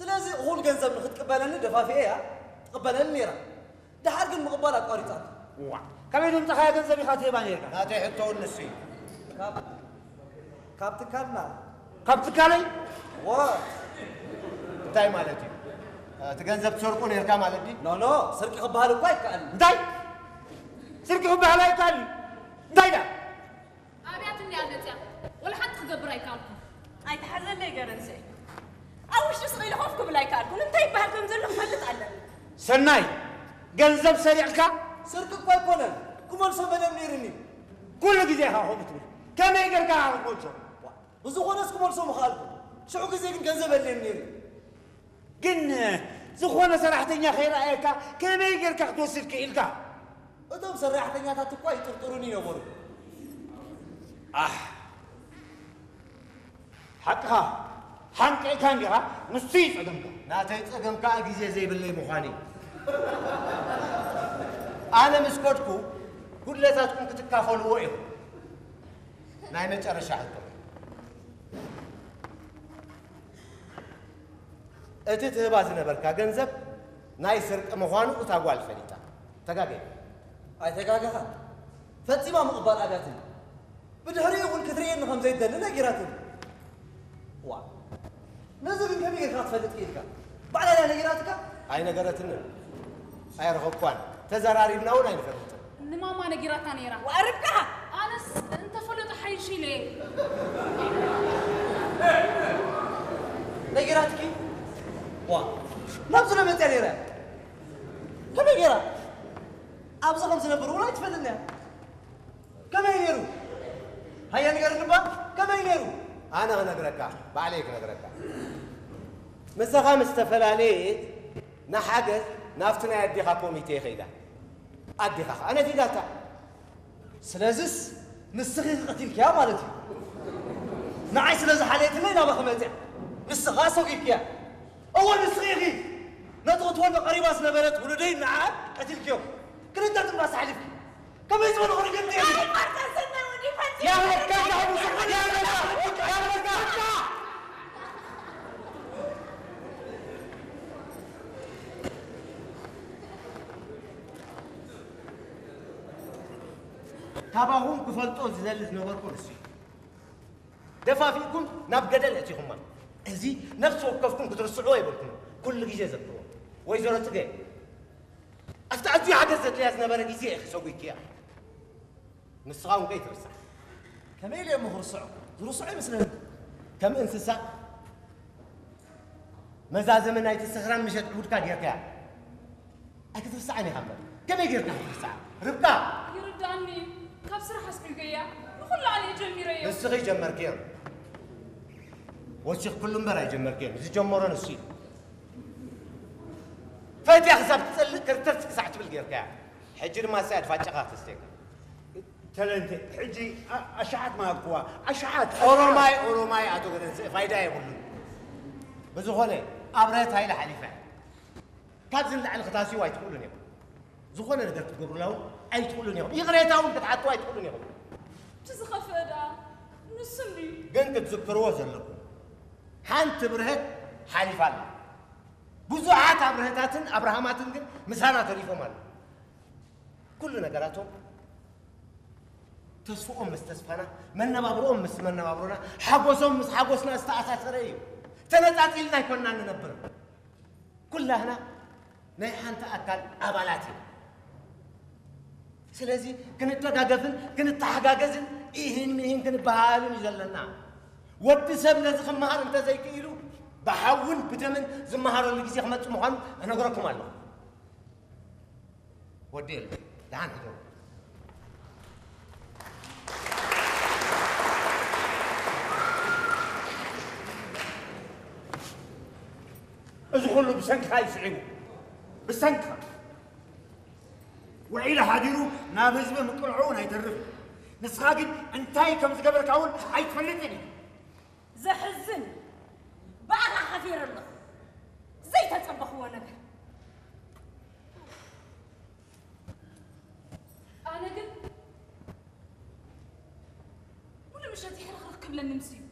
ስለዚ እኹል ገንዘብ ንኽትቅበለኒ ደፋፊኤ እያ ትቕበለኒ ነይራ። ደሓር ግን ምቕባል ኣቋሪጻቶ። ዋ፣ ካበይ ዘምጻኻዮ ገንዘብ ኢኻ ትህባ ነይርካ? ናተይ ሕቶ እውን ንሱ እዩ። ካብ ካብ ትካልና። ካብ ትካለይ? ዋ፣ እንታይ ማለት እዩ? እቲ ገንዘብ ትሰርቁ ነይርካ ማለት ድዩ? ኖ፣ ኖ፣ ስርቂ ክበሃል እኳ ኣይከኣልን። እንታይ? ስርቂ ክበሃል ኣይከኣልን? እንታይ ደኣ? ኣብያት እንድያ መፅያ፣ ወላ ሓንቲ ክገብር ኣይከኣልኩን። ኣይትሓዘለይ ገረንሰይ። ኣብ ውሽጢ ስቕ ኢለ ኮፍ ክብል ኣይከኣልኩን። እንታይ ይበሃል ከም ዘሎ ክፈልጥ ኣለኒ። ሰናይ፣ ገንዘብ ሰሪቕካ? ስርቂ እኳ ኣይኮነን፣ ክመልሶ መደብ ነይሩኒ። ኩሉ ግዜ ኢኻ ከምኡ ትብል። ከመይ ጌርካ ኢኻ ክትመልሶ? ብዝኾነስ ክመልሶ ምኽኣልኩ። ሽዑ ግዜ ግን ገንዘብ የድልየኒ ነይሩ። ግን ዝኾነ ሰራሕተኛ ከይረኣየካ ከመይ ጌርካ ክትወስድ ክኢልካ? እቶም ሰራሕተኛታት እኳ ይጥርጥሩኒ ነበሩ። ኣሕ፣ ሓቅኻ፣ ሓንቂቕካ እንዲኻ፣ ንሱ እዩ ጸገምካ። ናተይ ጸገም ከኣ ግዜ ዘይብለይ ምዃኑ እዩ። ኣነ ምስ ከድኩ፣ ጉድለታትኩም ክትካፈልዎ ኢኹም። ናይ መጨረሻ ሕቶ። እቲ ትህባ ዝነበርካ ገንዘብ ናይ ስርቂ ምዃኑ እታ ጓል ፈሊጣ። ተጋገየ። ኣይተጋገኻን። ፈጺማ ምቕባል ኣብያትኒ። ብድሕሪኡ እውን ክትርእየኒ ከም ዘይትደሊ ነጊራትኒ። ዋ፣ ነዚ ግን ከመይ ጌርካ ክትፈልጥ ክኢልካ? ባዕላ ድያ ነጊራትካ? ኣይነገረትንን። ኣየረኸብኳን። ተዘራሪብና እውን ኣይንፈልጥን። ንማማ ነጊራታ ነይራ። ወኣርብካ! ኣነስ እንተፈለጡ ሓይሽ ኢለ። ነጊራትኪ? ዋ፣ ናብዚ ዶ መፅያ ነይራ? ከመይ ገይራ? ኣብዚ ከም ዝነብር እውን ኣይትፈልጥን እያ። ከመይ ነይሩ? ሃየ ንገርኒ እባ፣ ከመይ ነይሩ? ኣነ ክነግረካ፣ ባዕለይ ክነግረካ። ምሳኻ ምስ ተፈላለየት ንሓገዝ ናብቲ ናይ ኣዴኻ ኮሚቴ ከይዳ። ኣዴኻ ኸኣ ነፊጋታ። ስለዝስ ንስኺ ቀቲልክያ ማለት እዩ። ንዓይ ስለ ዝሓለየትለይ ናባኺ መጽያ። ንስኻ ኣሰጒግክያ። እወ ንስኺ ኢኺ። ነቲ ክትወልዶ ቀሪባ ዝነበረት ውሉደይ ንዓ ቀቲልክዮ። ክልተ ትንፋስ ኣሕሊፍኪ። ከመይ ዝበሉ ርግምቲ እዮም? ናይ ማርታ ሰናይ ወዲ ፈጺሙ ያበቃ፣ ያበቃ፣ ያበቃ። ካባኹም ክፈልጦ ዝደሊ ዝነበርኩ ንሱ እዩ። ደፋፊእኩም ናብ ገደል ኣእቲኹማ። እዚ ነፍሲ ወከፍኩም ክትርስዕዎ የብልኩም። ኩሉ ግዜ ዘክርዎ። ወይዘሮ ጽገ፣ ኣብቲ ኣዝዩ ሓገዝ ዘድልያ ዝነበረ ግዜ ኢኺ ሰጒግክያ። ንስኻ እውን ከይትርስዓ። ከመይ ኢለ እሞ ክርስዖ? ዝርስዖ ይመስለኒ። ከም እንስሳ መዛዘሚ ናይቲ ስኽራን ምሸት ዕቡድካ ጌርካያ። ኣይክትርስዓን ኢኻ እምበር። ከመይ ጌርካ ክትርስዓ? ርብቃ! ይርድኣኒ እዩ። ካብ ስራሕ ኣስጒገያ። ንኹሉ ኣነ እየ ጀሚረዮ። ንስኺ ጀመርክዮ። ወሲኽክሉ እምበር ኣይጀመርክዮን። ዝጀመሮ ንሱ እዩ። ፈትያ ክሳብ ትጸልእ ክርተት ክሳዕ ትብል ጌርካያ። ሕጂ ድማ እሳ እያ ድፋጫኻ ክተስትየካ። ተለንተ፣ ሕጂ ኣ-፣ ኣሽሓት መሃብክዋ፣ ኣሽሓት፣ ኣሽሓት። ኦሮማይ፣ ኦሮማይ ኣቶ ገደንስእ ፋይዳ የብሉን። ብዝኾነ፣ ኣብርሀት ሃይለ ሓሊፋ እያ። ካብዚ ንላዕሊ ክታስዩ ኣይትኽእሉን ኢኹም። ዝኾነ ነገር ክትገብሩላ እውን ኣይትኽእሉን ኢኹም። ይቕሬታ እውን ክትሓቱ ኣይትኽእሉን ኢኹም። እቲ ዝኸፍአ ደኣ ንሱ እንድዩ። ግን ክትዝክርዎ ዘለኩም፣ ሓንቲ ብርሀት ሓሊፋ ኣላ። ብዙሓት ኣብርሀታትን ኣብርሃማትን ግን ምሳና ተሪፎም ኣለዉ። ኩሉ ነገራቶም ተስፍኦም ምስ ተስፋና፣ መነባብሮኦም ምስ መነባብሮና፣ ሓጎሶም ምስ ሓጎስና ዝተኣሳሰረ እዩ። ተነጻጺልና ኣይኮንና ንነብር። ኩላህና ናይ ሓንቲ ኣካል ኣባላት ኢና። ስለዚ ክንደጋገፍን ክንተሓጋገዝን ኢሂን ሚሂን ክንበሃሃልን እዩ ዘለና። ወዲ ሰብ ነዚ ክመሃር እንተዘይክኢሉ ብሓውን ብደምን ዝመሃረሉ ግዜ ክመጽእ ምዃኑ እነግረኩም ኣለኹ። ወዲ የለ፣ ደሓን ሕደሩ። እዚ ኩሉ ብሰንክኻ እዩ ስዒቡ። ብሰንክኻ። ውዒሉ ሓዲሩ ናብ ህዝቢ ምቅልዖ እውን ኣይተርፍን። ንስኻ ግን እንታይ ከም ዝገበርካ እውን ኣይትፈልጥን ኢኻ። ዘሕዝን። ብኣኻ ሓፊረ ኣለኹ። ዘይተጸበኽዎ ነገር። ኣነ ግን ሙሉ ምሸት ይሕርኽርኽ ክብለኒ ምስ እዩ።